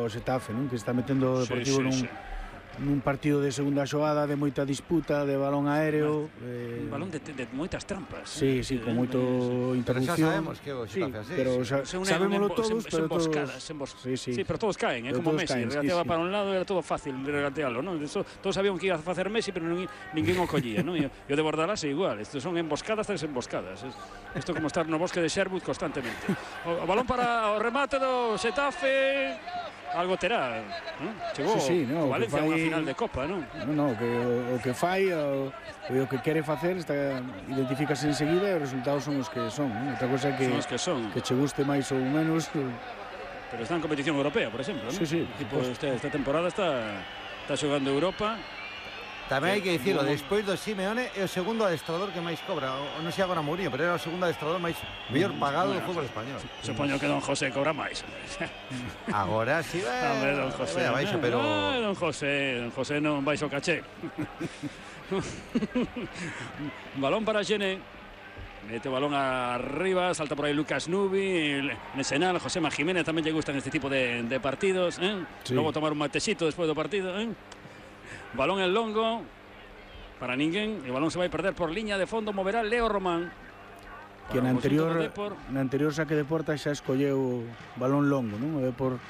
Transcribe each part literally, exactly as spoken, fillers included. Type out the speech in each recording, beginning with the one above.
ao Xetafe, non? Que está metendo o Deportivo sí, sí, nun, sí. nun partido de segunda xogada, de moita disputa, de balón aéreo, eh... un balón de, de moitas trampas. Sí, sí, con moito eh, interrupción. Pero xa sabemos que o Xetafe así. Pero xa, sabémoslo todos, pero todos... Sí, sí. sí, pero todos caen, eh, como todos Messi, caen, regateaba sí, sí. para un lado, era todo fácil regatearlo, ¿no? Eso, todos sabían que iba a facer Messi, pero ninguén o collía, ¿no? E o de Bordalás é igual, estos son emboscadas tras emboscadas. Isto como estar no bosque de Sherwood constantemente. O, o balón para o remate do Xetafe. Algo terá, ¿no? Chegou sí, sí, no, o Valencia a unha final de Copa, non? Non, non, que o, o que fai, o, o que quere facer, está, identifícase enseguida e os resultados son os que son, non? Outra cosa que, son os que son. Que che guste máis ou menos. Pero está en competición europea, por exemplo, ¿no? Sí, sí. Tipo, este, esta temporada está, está xogando Europa. Tamén hai que dicirlo, despois do Simeone é o segundo adestrador que máis cobra. O non sei agora Mourinho, pero era o segundo adestrador máis mellor pagado do fútbol español. Supoño que Don José cobra máis. Agora si va. Hombre, Don José. Vai baixo, pero ah, Don José, Don José non baixo caché. Balón para Xene. Mete o balón arriba, salta por aí Lucas Nubi, Nesenal, José Ma Jiménez tamén lle gustan este tipo de, de partidos, eh? Sí. Logo tomar un matecito despois do partido, eh? Balón en longo para ninguén. El balón se vai perder por liña de fondo. Moverá Leo Román. Que na anterior, na anterior saque de porta xa escolleu balón longo, non? O Depor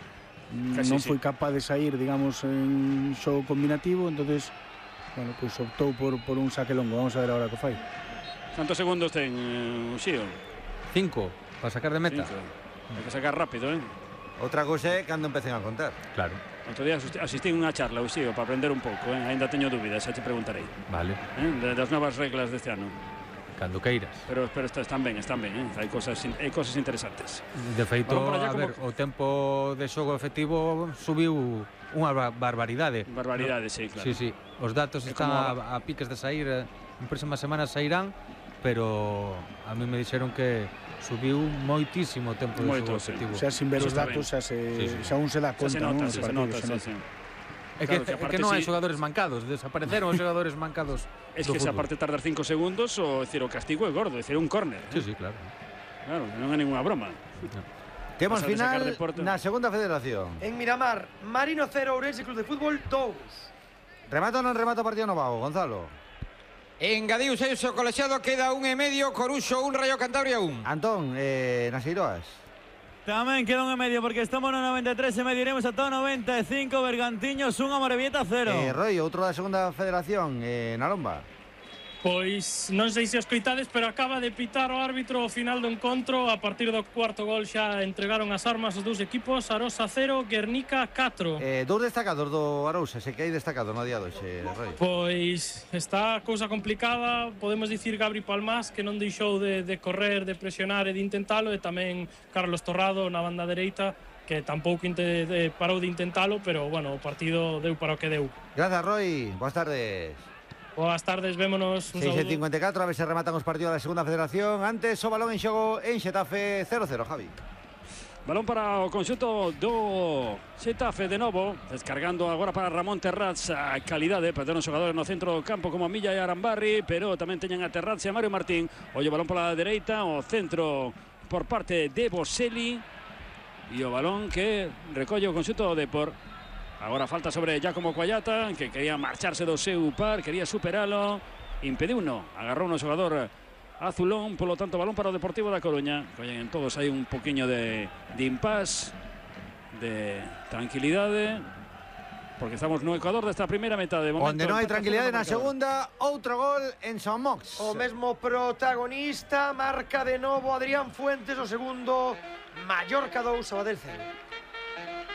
Casi non foi sí. capaz de sair, digamos, en xogo combinativo, entonces, bueno, pues optou por, por un saque longo. Vamos a ver agora que fai. ¿Cuántos segundos ten, uh, Xío? Cinco, para sacar de meta. Cinco. Hay que sacar rápido, eh? Outra cousa é cando empecen a contar. Claro. Outro día asistí a unha charla, Uxío, para aprender un pouco, eh? Ainda teño dúbidas, xa te preguntarei. Vale. Eh? Das novas reglas deste ano. Cando queiras. Pero, pero están ben, están ben, eh? Hai cosas, hai cosas interesantes. De feito, a ver, como... o tempo de xogo efectivo subiu unha barbaridade. Barbaridade, no? Sí, claro. Sí, sí. Os datos é están como... a, a piques de sair, en próximas semanas sairán, pero a mí me dixeron que subiu moitísimo o tempo de xogo efectivo. O sea, sin ver os datos xa, se, sí, sí. xa un se dá conta, se nota, non? Se, se nota, se nota. É que, claro, que, que non hai xogadores mancados, desapareceron os xogadores mancados. Es que se aparte tardar cinco segundos, o decir, o castigo é gordo, decir, un córner. Sí, sí, claro. Claro, non é ninguna broma. No. Temos final na segunda federación. En Miramar, Marino cero, Ourense Club de Fútbol dous. Remato ou non remato partido no Vago, Gonzalo? Engadiu seis o colexiado, queda un e medio, Coruxo un, Rayo Cantabria un. Antón, eh, nas Eiroas. Tamén queda un e medio porque estamos no noventa e tres e medio, iremos ata o noventa e cinco. Bergantiños un, Amorebieta cero. Eh, Roy, outro da segunda federación, eh, na Lomba. Pois non sei se os coitades, pero acaba de pitar o árbitro o final do encontro. A partir do cuarto gol xa entregaron as armas os dous equipos. Arosa cero, Guernica catro. Eh, dous destacados do Arousa, se que hai destacado no día doxe, Roy. Pois está a cousa complicada. Podemos dicir Gabri Palmás, que non deixou de, de correr, de presionar e de intentalo, e tamén Carlos Torrado na banda dereita, que tampouco inte, de, parou de intentalo, pero bueno, o partido deu para o que deu. Gracias, Roy. Boas tardes. Boas tardes, vémonos. seis e cincuenta e catro, a ver se rematan os partidos da segunda federación. Antes o balón en xogo en Xetafe cero cero, Javi. Balón para o conxunto do Xetafe de novo, descargando agora para Ramón Terraz. A calidade, perderon xogadores no centro do campo como Milla e Arambarri, pero tamén teñen a Terraz e a Mario Martín. Oye, balón pola dereita, o centro por parte de Boselli, e o balón que recolle o conxunto do Depor. Agora falta sobre Giacomo Coallata, que quería marcharse do seu par, quería superalo, impediu no, agarrou no xogador azulón, polo tanto balón para o Deportivo da Coruña. Oye, en todos hai un poquinho de, de impas, de tranquilidade, porque estamos no Ecuador desta primeira metade. Onde non hai tranquilidade na segunda, outro gol en San Mox. O mesmo protagonista, marca de novo Adrián Fuentes, o segundo, Mallorca dous, Sabadell cero.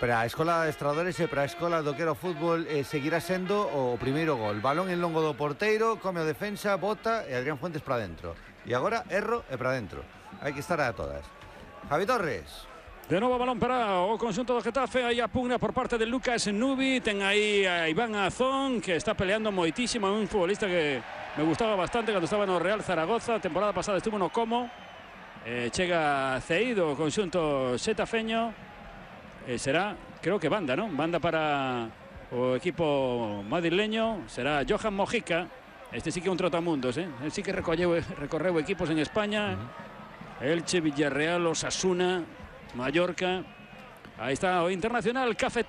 Para a escola de estradores e para a escola do que era o fútbol eh, seguirá sendo o primeiro gol. Balón en longo do porteiro, come o defensa, bota e Adrián Fuentes para dentro. E agora erro e para dentro. Hai que estar a todas. Javi Torres. De novo balón para o conxunto do Getafe. Aí a pugna por parte de Lucas Nubi. Ten aí a Iván Azón, que está peleando moitísimo. Un futbolista que me gustaba bastante cando estaba no Real Zaragoza. A temporada pasada estuvo no Como. Eh, chega ceído o conxunto xetafeño. Eh, será, creo que banda, ¿no? Banda para o equipo madrileño. Será Johan Mojica. Este sí que é un trotamundos, ¿eh? Él sí que recorreu, recorreu equipos en España. Uh-huh. Elche, Villarreal, Osasuna, Mallorca. Ahí está o Internacional Café